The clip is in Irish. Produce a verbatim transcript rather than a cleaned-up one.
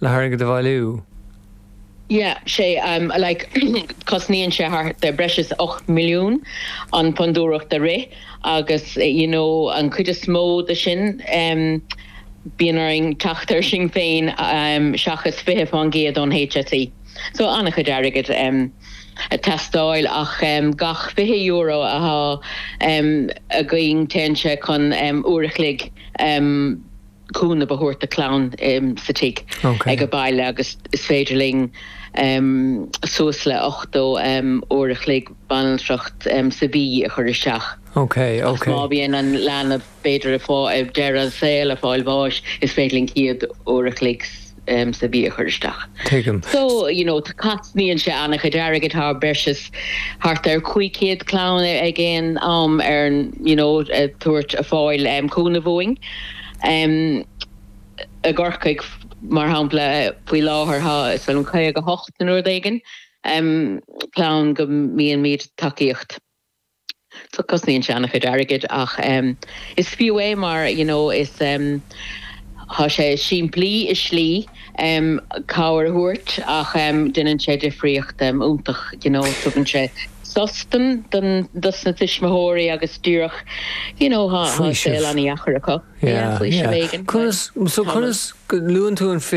Le hairgead a bhailiú. Yeah, sé um, like cosnaíonn sé thart ar breis is ocht milliún an fondúireacht a rith agus you know, an chuid is mó de sin um, bíonn orainn teacht air sin féin um, seachas fiche faoin gcéad ón H S E. So an-chuid airgid um, ag teastáil ach um, gach fiche euro atá um, againn téann sé chun um, uair a chloig um, cúnamh a thabhairt do chlann um, sa tigh Okay. ag a baile agus is féidir linn um, suas le ochtó um, uair a chloig banaltracht um, sa mhí a chur isteach. Okay, okay. Má bhíonn an leanbh b'fhéidir fá ag deireadh an saol ag fáil bháis is féidir linn céad uair a chloig um, sa mhí a chur isteach. Tuigim. So you know cosnaíonn sé an-chuid airgid tá breis is thart ar cúig chéad clann ag aon am ar you know tabhairt a fáil um, cúnamh uainn. Um, i gCorcaigh mar shampla faoi láthair tá is an caoga hocht nó rud éigin um, clann go mbíonn míad tacaíocht. So cosnaíonn sé an-chuid airgid ach um, is fiú é mar you know, is um, Tá sé simplí i slí um, cabhair a thabhairt ach um, déanann sé difríocht um, iontach you know, tugann sé sos don don dos na tuismitheoirí agus díreach you know, Faoiseamh. an deacair acu. Yeah, yeah. Conas so conas luann tú an fiche